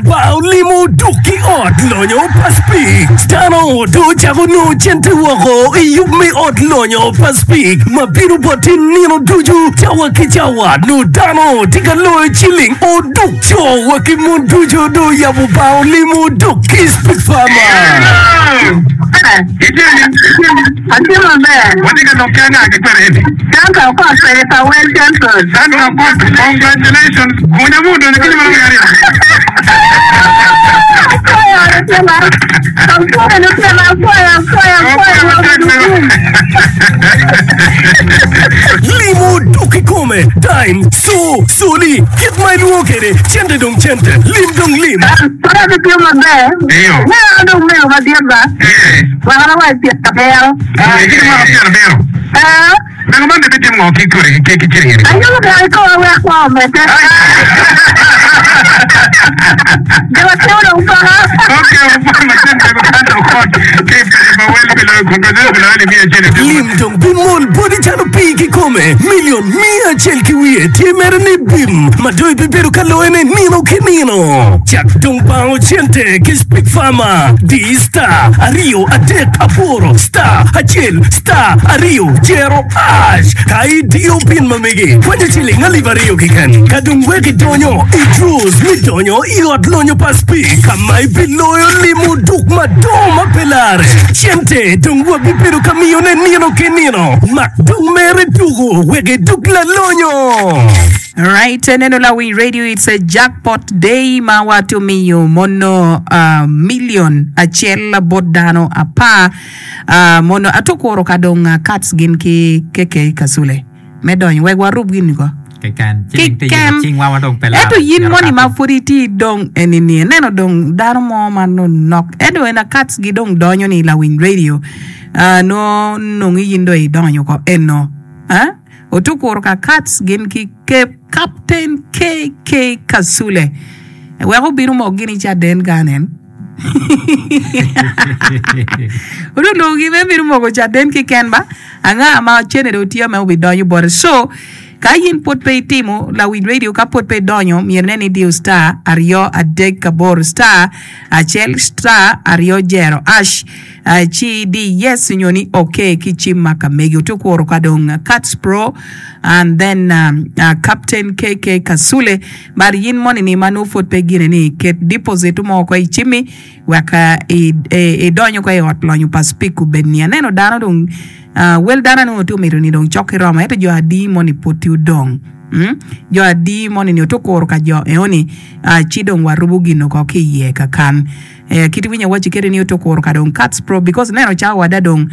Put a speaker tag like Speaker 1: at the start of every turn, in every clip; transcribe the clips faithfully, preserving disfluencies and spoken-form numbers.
Speaker 1: Ba olimo duk ki ot lonyo pa Speke. Dano do ocako nongo cente woko i yub me ot lonyo pa Speke ma bino boti nino ducu cawa ki cawa. Nongo dano tye ka loyo ciling oduk co wa ki mon ducu do oyabo ba olimo duk ki Speke Farmer.
Speaker 2: Atye maber.
Speaker 3: Watye ka lok ki anga ki kwede eni?
Speaker 2: Santa Okot kwede pa Wel Central.
Speaker 3: Santa Okot, congratulations. Gunya mu odonyo ki nyuma aryo.
Speaker 2: Apwoyo lutela. Apwoyo lutela, apwoyo, apwoyo, apwoyo.
Speaker 1: Limo duk kikome, dime, co, coli, kit ma ilwongo kwede, cente dong cente, lim dong lim.
Speaker 2: Kore gitye maber.
Speaker 3: Iyo.
Speaker 2: Me an dong mego madit ba.
Speaker 3: Eh.
Speaker 2: Wek an awac pyerabiro.
Speaker 3: Eh, kiti mwaka pyerabiro.
Speaker 2: Eh.
Speaker 3: Mego man dong bitimo ngo ki kore ki ki ciling eni?
Speaker 2: Ayubo gang i koma wek kwo omedde. Jo matino dong paka.
Speaker 3: Okay, opon macen mego Santa Okot ki peke pa wel pi loyo congratulations pi loyo alip miya acel i
Speaker 1: Lim dong bimol boti calo pii kikome. Milion miya acel ki wiye tye mere ni bim ma dong ibibedo ka loyone nino ki nino. Cak dong bango cente ki Speke Farmer. Di star aryo adek aboro star acel star aryo jero hash. Ka idiyo pin ma megi, kwanyo ciling alip aryo keken. Ka dong wek idonyo i draws me donyo i ot lonyo pa Speke ka ma ibiloyo limo duk madongo ma pe lare. Cente dong wabibedo ka miyone nino ki nino. Mak dong mere tuko wek iduk lalonyo.
Speaker 4: Right, neno Lawiny Radio, it's a jackpot day ma wato miyo mono uh, million acel bot dano apar uh, mono atukuro ka dong uh, cats gin ki keke kasule me donyo wek warub gin ko
Speaker 5: Keken. Ciling tye
Speaker 4: Keken.
Speaker 5: cingwa ma dong pe laro.
Speaker 4: Ento yin
Speaker 5: Myero
Speaker 4: moni ma
Speaker 5: kato.
Speaker 4: pud itye dong enini ineno dong dano mo ma nonok ento en akats gi dong donyo ni Lawiny Radio uh, no nongo yin dong idonyo ko eno eh? Otukuro ka Kats gin ki Captain K K Kasule wek obino mok gin i caden kanen. Onongo lwongogi me bino moko caden keken ba anga ma cene dong tye me obidonyo bote. So ka in pud pe itimo Lawiny Radio ka pud pe idonyo myero inen ni idiyo star aryo adek aboro star acel star aryo jero ash uh, ci idi yes nyo ni ok ki cim ma ka megi otukuro ka dong Cats Pro and then um, uh, Captain K K Kasule mar yin moni ni ma nongo pud pe gine ni ket deposit mo ko i cimmi wek uh, idonyo ko i ot lonyo pa Speke obed ni aneno dano dong uh, wel dano nongo tye omito ni dong cok ki romo ento jo adi moni pud tye odong mm? Jo adi moni ni otukuro ka jo eoni uh, ci dong warubo gino ko ki iye kakan eh, kit winyo waci kede ni otukuro ka dong Cats Pro because neno cawa wada dong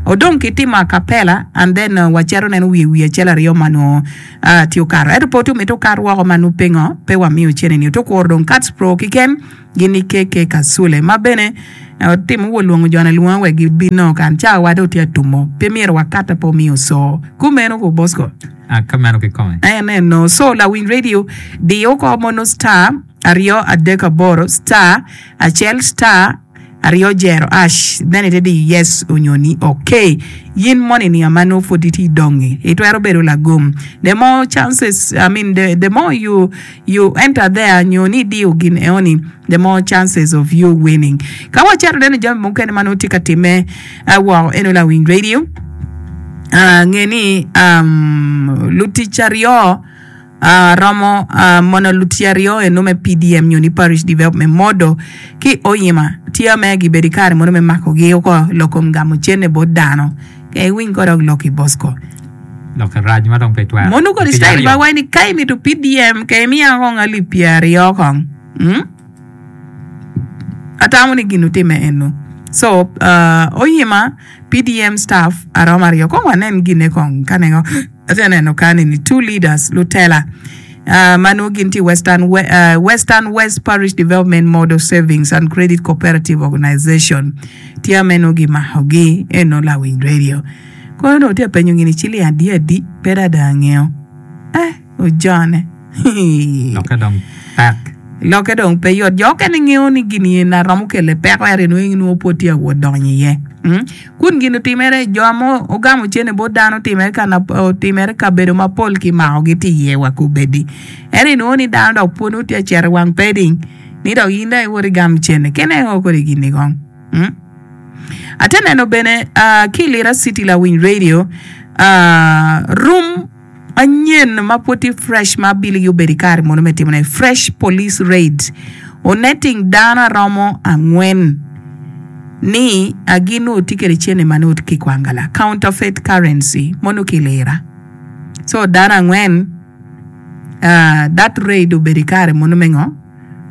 Speaker 4: odong ki timo acapella and then uh, wacito neno wiye wiye acel aryo ma nongo uh, tye okato ento pe tye omito okat woko ma nongo pingo pe wamiyo cene ni otukuro dong Cats Pro kiken gin ni K K Kasule ma bene otimo wo lwongo jone lwonga wek gibino kan cawa wada otye atumo pe myero wakata pe omiyo so kumeno ko Bosco.
Speaker 5: Ah, kameno kikome.
Speaker 4: En eno so Lawiny Radio diyo ko mono star aryo adek aboro star acel star aryo jero ash then ite di yes onyo ni okay yin moni ni ama nongo pud itye idongi itwero bedo lagum the more chances, I mean, the, the more you you enter there nyo ni idiyo gin eoni, the more chances of you winning. Ka wacito neno jami mukene ma nongo tye ka timme uh, woko eno Lawiny Radio uh, nge ni um, lutic aryo uh, romo uh, mono lutic aryo eno me P D M nyo ni Parish Development Model ki oyima tye me gibedo i kare mono me makogi oko lokom gamo cene bot dano ke iwiny kodok loki Bosco.
Speaker 5: Lok rac ma dong pe twero.
Speaker 4: Mono kodi
Speaker 5: Lutic
Speaker 4: style
Speaker 5: aryo.
Speaker 4: ba wai ni ka imito P D M ke imiya kong alip pyeraryo kong mm? Atamo ni gin otime eno so uh, oyima P D M staff aromo aryo kong wanen gine kong kanengo ate neno kani ni two leaders lutela uh, ma nongo gin tye Western, We uh, Western West Parish Development Model Savings and Credit Cooperative Organization tye me nongo gimakogi eno Lawiny Radio kono dong tye apenyo gini ciling adi adi pe dada angeo eh ojone.
Speaker 5: Lokke dong pek.
Speaker 4: Lokke dong pe yot jo okene ngeo ni gini eni aromo kele peko ento inwongo nongo pud tye awot donyo iye mm? Kun gin otimere jo ma ogamo cene bot dano otimere kana otimere kabedo mapol kimakogi tye iye wa kubedi ento inwongo ni dano dok pud nongo tye acito i wang peding Ni dok in dong iwot igam cene kene o kodi gini kong. Mm? Ate neno bene uh, ki Lira City Lawiny Radio uh, room anyen ma pud tye fresh ma abiligi obedo i kare mono me timone fresh police raid onetting dano aromo angwen ni gin nongo tye kwede cene ma nongo ki kwangala counterfeit currency mono ki lira so dano angwen uh, that raid obedo i kare mono me ngo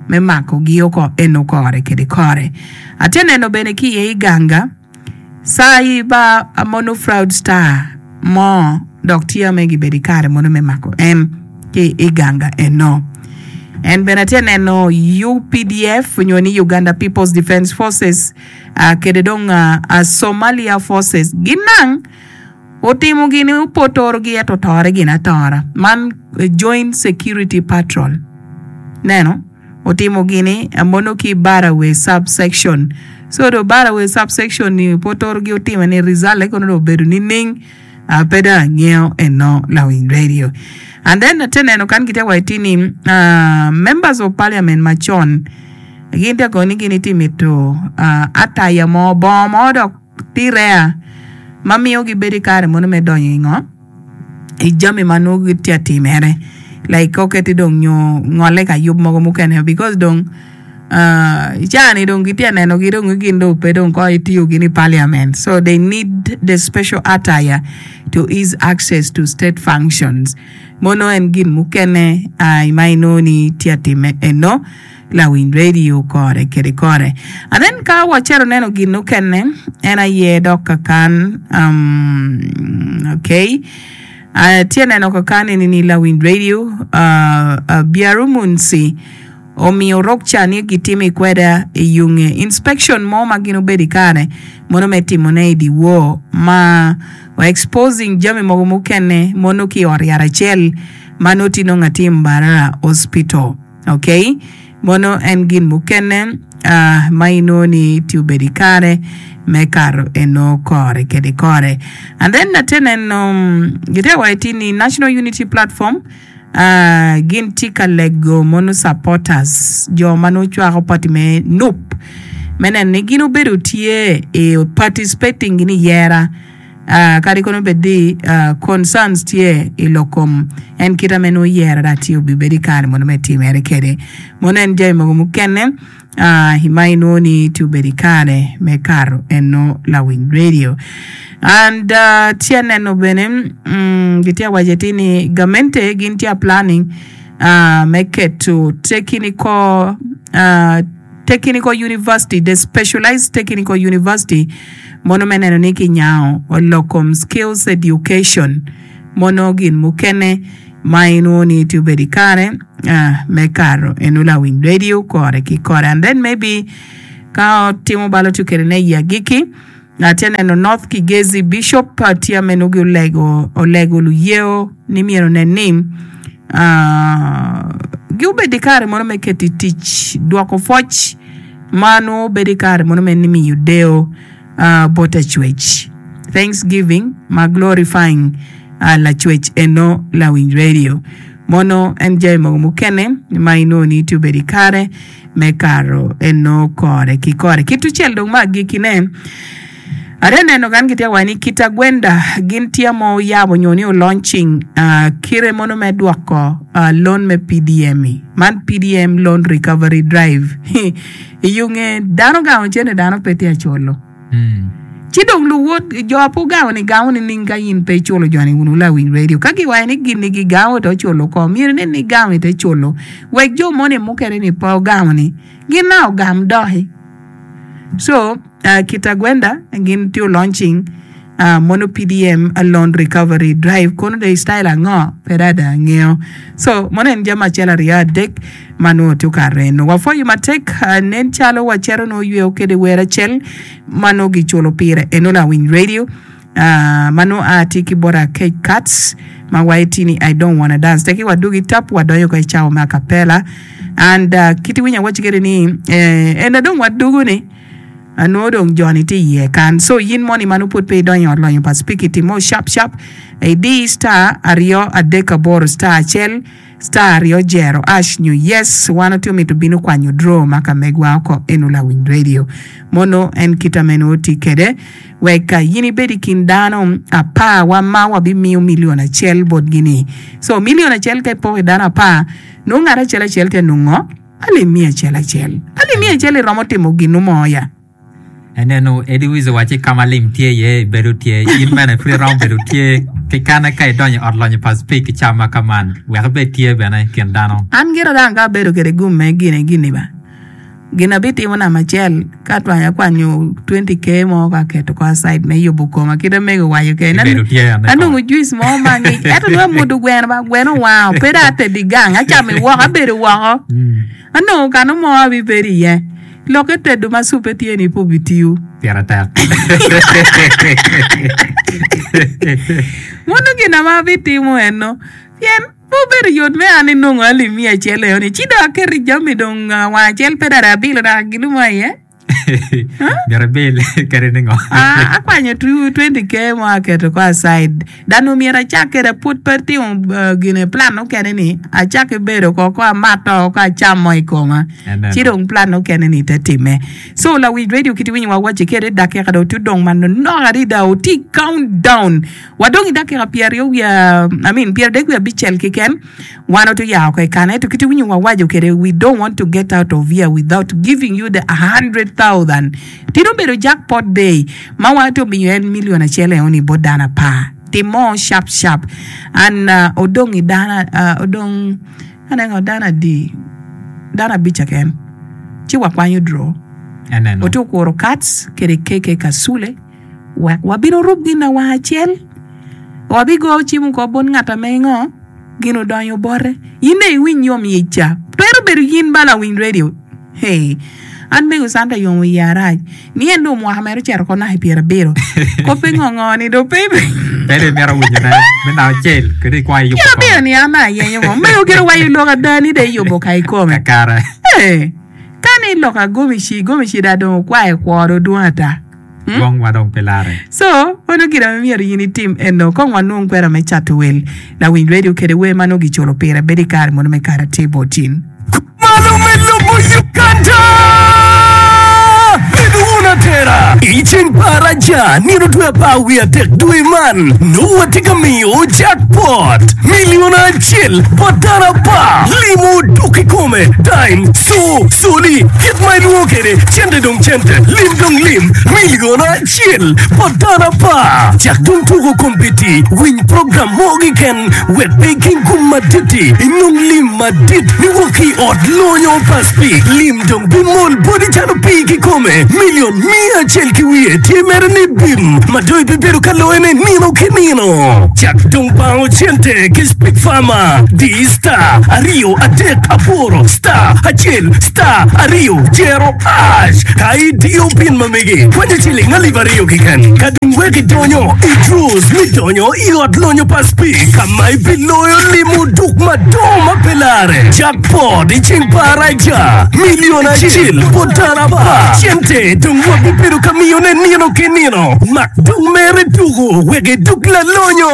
Speaker 4: me makogi oko eno kore kede kore ate neno bene ki iye iganga Sai ba mono fraudster mo dok tye me gibedo i kare mono me mako en ki i ganga eno. En bene atye neno UPDF nyo ni Uganda People's Defence Forces uh, kede dong uh, uh, Somalia Forces ginang otimo gini opotorogi ento otore gin atora man Joint Security Patrol neno otimo gini mono ki Barawe sub section so do Barawe sub section ni potorogi otime ni result kono do obedo nining uh, pe dong angeyo eno lawiny radio and then ate neno kan gitye waci ni uh, members of parliament macon gin tye kono ni gin itye mito uh, ataya mo bongo mo dok tye rare ma miyo gibedo i kare mono me donyo i ngo i jami ma nongo gitye atimere like ka oketi dong nyo ngole ka yub mogo mukene because dong uh, i caa-ni dong gitye nenogi dong gin dong pe dong ko itiyo gin i parliament so they need the special attire to ease access to state functions mono en gin mukene uh, ma inongo ni tye atime eno lawiny radio kore kede kore and then ka wacito neno gin mukene en aye dok kakan um, okay uh, tye neno kakan eni ni lawiny radio uh, uh, Biarumunsi omiyo rokca ni gitimo i kweda i yunge inspection mo ma gin obedo i kare mono me timone i dyewor ma exposing jami mogo mukene mono ki i ot yat acel ma nongo tye nongo atir Mbarara Hospital okay mono en gin mukene uh, ma inongo ni tye obedo i kare me kato eno kore kede kore and then ate neno um, gitye waci ni National Unity Platform uh, gin tye ka lego mono supporters jo ma nongo cwako party me NUP me neno ni gin obedo tye i participating gin i yera uh, kadi kono bed di uh, concerns tye i lok kom en kita me nongo yera da tye obibedo i kare mono me timere kede mono en jami mogo mukene uh, ma inongo ni tye obedo i kare me kato eno lawiny radio and uh, tye neno bene mm, gitye waco ti ni gamente gin tye planning uh, me keto technical uh, technical university the specialized technical university mono me neno ni kinyango olokom skills education mono gin mukene ma inongo ni tye obedo i kare uh, me kato eno lawiny radio kore ki kore and then maybe ka otimo balo tye kedene i agiki atye neno North Kigezi Bishop tye me nongo olego olego luyeo ni myero onen ni uh, giobed i kare mono me keto i tic dwoko pwoc ma nongo bedo i kare mono me miyo deo uh, bot acwec thanksgiving ma glorifying uh, lacwec eno lawiny radio mono en jami mogo mukene ma inongo ni tye obedo i kare me kato eno kore ki kore ki tucel dong ma agikine Ate neno kan gitye waco ni Kitagwenda gin tye ma oyabo nyo ni olaunching uh, kire mono me dwoko uh, loan me PDM -i. Man PDM loan recovery drive i yunge dano gamo cene dano pe tye aculo
Speaker 5: Mm.
Speaker 4: ci dong luwot jo apo gamo ni gamo ni ning ka in pe iculo joni wunu lawiny radio ka giwaco ni gin ni gigamo to culo ko myero ni ni gamo ite culo wek jo moni mukene ni pe ogamo ni gin na ogam doki so uh, Kitagwenda gin tye launching uh, mono PDM loan recovery drive kono de style ango pe dada angeyo so mono en jami acel aryo adek ma nongo tye okato eno wapwoyo matek uh, nen calo wacito nongo yweo kede wer acel ma nongo giculo pire eno lawiny radio uh, ma nongo a tye ki bota Cake Cuts ma waci ni I don't wanna dance teki wadugi tap wadonyo ka i cawa me acapella and uh, kiti winyo awaci kede ni eh, en dong wadugu ni anongo dong joni tye iye kan so yin moni ma nongo pud pe idonyo i ot lonyo pa spiki timo sharp sharp idi star aryo adek aboro star acel Star aryo jero hash nyo yes wan otye omito bino kwanyo draw ma ka megwa oko eno lawiny radio mono en kita meno oti kede wek in ibed i kin dano apar wa ma wabimiyo milion acel botgi ni so milion acel ka ipoko i dano apar nongo ngat acel acel tye nongo alip miya acel acel alip miya acel iromo timo ginu mo ya
Speaker 5: Eneno Eddie Wiz owaci ka ma lim tye iye ibedo tye in bene pud iromo bedo tye ki kane ka idonyo i ot lonyo pa Speke ki cam ma ka man wek ibed tye bene i kin dano.
Speaker 4: An gira dang ka abedo kede gum me gine gini ba gin abitimo namba acel ka atwanyo akwanyo twenty k mo ka aketo ko aside me yubo koma kite mego owaco kede
Speaker 5: Ibedo tye ane
Speaker 4: anongo juice mo ma ngic ento nongo amwodo gweno ba gweno owango pe dong atedo i gang acamo i woko abedo woko anongo kano mo abibedo iye lokke tedo ma cupe tye ni pe obitiyo
Speaker 5: Pire tek.
Speaker 4: Mono gin ma abitimo eno pien pe obedo yot me an inongo alip miya acel eno ni ci dong aketo i jami dong wang acel pe dong abilo dok ginu mo iye
Speaker 5: Myero ibil kadi ningo.
Speaker 4: Ah, akwanyo twenty k mo aketo ko aside dano myero acak kede pud pe timo uh, gine plan mukene ni acak bedo ko ko amato ko acamo i koma
Speaker 5: Eneno.
Speaker 4: ci dong plan mukene ni te time so lawiny radio kiti winyo wa waci kede dakika dong tye dong manonok adada oti countdown wadong i dakika pyeraryo wiye I mean pyeradek wiye abicel keken wan oto yao ko i kane to kiti winyo wa waco kede we don't want to get out of here without giving you the hundred thousand tino bedo jackpot day ma wan to miyo en million acel eoni bot dano apar timo sharp sharp and uh, odong i dana uh, odong aneno dano adi dano abic keken ci wakwanyo draw
Speaker 5: Eneno.
Speaker 4: oto kuro cats kede keke kasule wek wabino rub gin na wang acel wabigo cimo ko bot ngat ame ngo gin odonyo bote in dong iwiny yom yic ca twero bedo yin ba lawiny radio hey an mego Santa yomo iye arac ni en dong mwaka mere ocito ko naka i pyerabiro ko pe ngo ni dong pe
Speaker 5: Pe dong imito winyone me naka acel kede ikwayo yubo
Speaker 4: pyerabiro ni an ayenyo ngo mego gire wayo lok ada ni dong iyubo ka ikome
Speaker 5: Kakare.
Speaker 4: Hey, ka ni lok agomici gomici da dong okwayo kworo dwong ata
Speaker 5: Dwong wa dong pe lare.
Speaker 4: So, ono gin ame myero in itim eno kong wanwong kwera me cato wel lawiny radio kede wer ma nongo giculo pire bedo i kare mono me kare atir botin.
Speaker 1: Malo me lobo Uganda! Bedo wun atera! I ceng paraja nino dwe apar wiye adek dwe man nongo watye ka miyo jackpot milion acel bot dano apar limo duk i kome dime so soli kit ma ilwongo kede cente dong cente lim dong lim milion acel bot dano apar cak dong tuko kompiti winy program mo keken wek pe iking gum madit-ti inong lim madit niwok ki i ot lonyo pa Speke lim dong bimol boti calo pii kikome milion mia acel ki wiye tye mere ni bim ma dong ibibedo ka loyone nino ki nino cak dong bango cente ki Speke Farmer di star aryo adek aboro star acel star aryo jero hash ka idiyo pin ma megi kwanyo ciling alip aryo keken ka dong wek idonyo i draws mi donyo i ot lonyo pa Speke ka ma ibiloyo limo duk madongo ma pe lare jackpot i ceng paraja milion acel bot dano apar cente dong wabibedo ka miyone nino ki nino mak dong mere tuko wek iduk lalonyo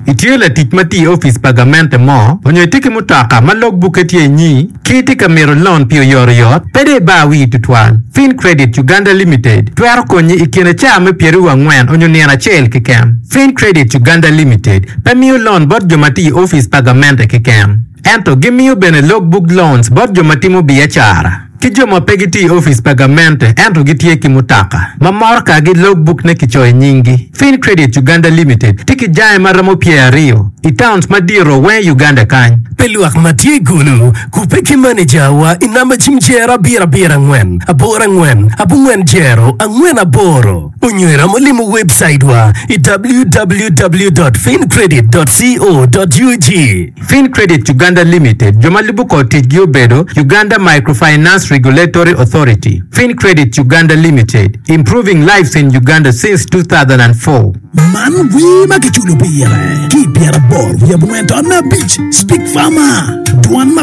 Speaker 6: Itye latic ma tye i opic pa gamente mo onyo itye ki mutoka ma logbukke tye inyi ki itye ka mito loan pi oyotoyot pe dong ibar wii tutwal. Fin Credit Uganda Limited twero konyi i kine caa me pyeraryo angwen onyo nino acel keken. Fin Credit Uganda Limited pe miyo loan bot jo ma tye i opic pa gamente keken. Ento gimiyo bene logbook loans bot jo ma timo biacara ki jo ma pe gitye i opic pa gamente ento gitye ki mutoka ma moro-kagi logbook ne kicoyo i nyinggi. Fin Credit Uganda Limited tye ki jange ma romo pyeraryo i towns madito weng i Uganda kany.
Speaker 1: Pe lwak ma tye i Gulu kupe ki maneja wa i namba cim jero abiro abiro angwen aboro angwen abongwen jero angwen aboro onyo iromo limo website wa i www.fincredit.co.ug
Speaker 6: Fin Credit Uganda Limited jo ma lubo kor ticgi obedo Uganda Microfinance Regulatory Authority. Fin Credit Uganda Limited improving lives in Uganda since two thousand four.
Speaker 7: Man wer ma kiculo pire ki pyeraboro wiye abongwen to abic Speak Farmer dwan ma